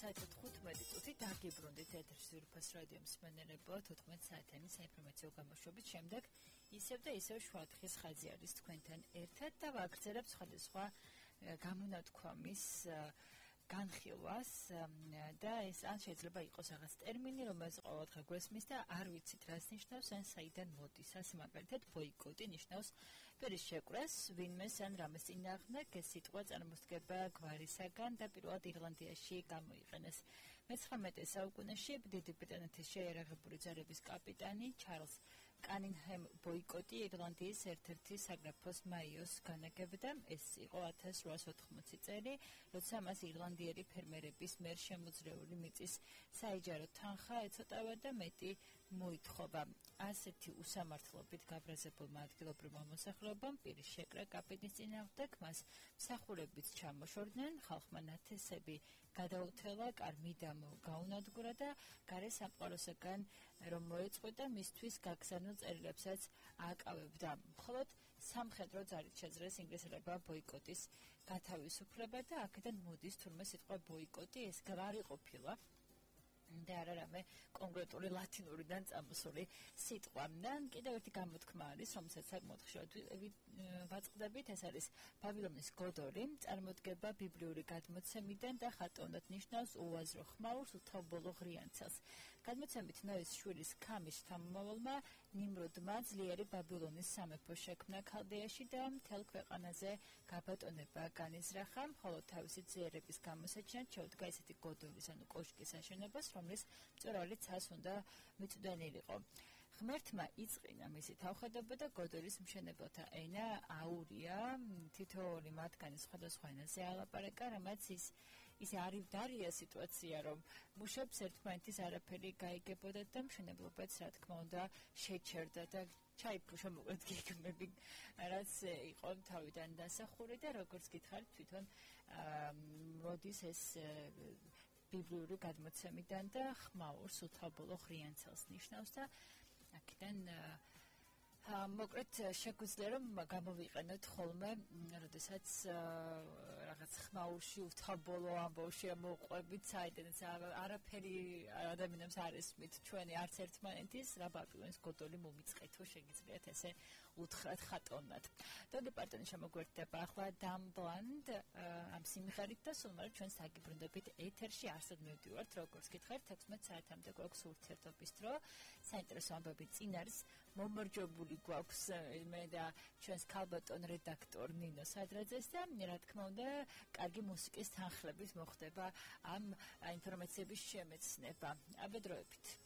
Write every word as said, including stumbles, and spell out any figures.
საათი თხუთმეტი წუთი დაგიბრუნდით ეთერში ზურფას რადიო მსმენელებო თოთხმეტ საათიანი საინფორმაციო გამოშვების შემდეგ ისევ და ისევ შუადღის ხაზი არის თქვენთან ერთად და ვაგრძელებთ სხვადასხვა გამონათქვამის განხილვას და ეს ან შეიძლება იყოს რაღაც ტერმინი, რომელიც ყოველდღე გვესმის და არ ვიცით რას ნიშნავს, ან საიდან მოდის. ასე მაგალითად ბოიკოტი ნიშნავს პირის შეკვრას, ვინმეს ან რამეს წინააღმდეგ, ეს სიტყვა წარმოსდგება გვარისაგან და პირველად ირლანდიაში გამოიყენეს. მეცხრამეტე საუკუნეში დიდი ბრიტანეთის შეიარაღებული ძალების კაპიტანი ჩარლზ კანინგჰემ ბოიკოტი ირლანდიის ერთ-ერთი საგრაფოს მაიოს განაგებდა. ეს იყო ათას რვაასი ოთხმოცი წელი, როცა მას ირლანდიელი ფერმერების მიერ შემოძრეული მიწის საიჯარო თანხა ეცოტავა და მეტი მოითხოვა. ასეთი უსამართლობით გაბრაზებულმა ადგილობრივმა მოსახლეობამ პირის შეკრა კაპიტნის წინააღმდეგ, მას მსახურებიც ჩამოშორდნენ, ხალხმა ნათესები გადაუთელა, კარ-მიდამ გაუნადგურა და გარე სამყაროსაგან რომ მოეწყვეტა მისთვის გაგზავნილ წერილებსაც ააკავებდა. მხოლოდ სამხედრო ძალით შეძლეს ინგლისელებმა ბოიკოტის გათავისუფლება და აქედან მოდის თურმე სიტყვა ბოიკოტი, ეს არ იყოფილა და არა რამე კონკრეტული ლათინურიდან წამოსული სიტყვა. და კიდევ ერთი გამოთქმა არის, რომელსაც საკმაოდ ხშირად ვაწყდებით, ეს არის ბაბილონის გოდორი, წარმოდგება ბიბლიური გადმოცემიდან და ხატოვნად ნიშნავს უაზრო ხმაურს, უთაობოლო ღრიანცელს. გადმოცემით ნოის შვილის ქამის შთამომავალმა ნიმროდმა ძლიერი ბაბილონის სამეფო შექმნა ქალდეაში და მთელ ქვეყანაზე გაბატონება განიზრახა, ხოლო თავისი ძლიერების გამოსაჩინად შეუდგა ესეთი გოდორის ანუ კოშკის აშენებას, რომლის მწვერვალი ცას უნდა მიწვდენილიყო. ღმერთმა იწყინა მისი თავხედობა და გოდორის მშენებელთა ენა აურია, თითოეული მათგანი სხვადასხვა ენაზე ალაპარაკა, რამაც ის ისე არივდარია სიტუაცია, რომ მუშებს ერთმანეთის არაფერი გაიგებოდა და მშენებლობაც, რა თქმა უნდა, შეჩერდა და ჩაიფუშა მოკლედ გეგმები, რაც იყო თავიდან დასახური და როგორც გითხარით, თვითონ მოდის ეს ბიბლიური გადმოცემიდან და ხმაურს უთაობოლო ღრიანცელს ნიშნავს და აქედან მოკლედ შეგვიძლია რომ გამოვიყენოთ ხოლმე, როდესაც რაღაც ხმაურში უთაობოლო ამბავში მოყვებით, საიდანაც არაფერი ადამიანებს არ ესმით ჩვენი არც ერთმანეთის რა ბაბილონის გოდოლი მომიწყეთო, შეგიძლიათ ესე უთხრათ ხატოვნად. დონი პარტონი შემოგვერთდება ახლა დამბლანდ ამ სიმღერით და სულ მალე ჩვენს დაგიბრუნდებით ეთერში არსად მივდივართ, როგორც გითხარით, თექვსმეტ საათამდე გვაქვს ურთიერთობის დრო. საინტერესო ამბები წინ არის მომარჯვებული გვაქვს მე და ჩვენს ქალბატონ რედაქტორ ნინო სადრაძეს და რა თქმა უნდა კარგი მუსიკის თანხლებით მოხდება ამ ინფორმაციების შემეცნება. აბედროებით.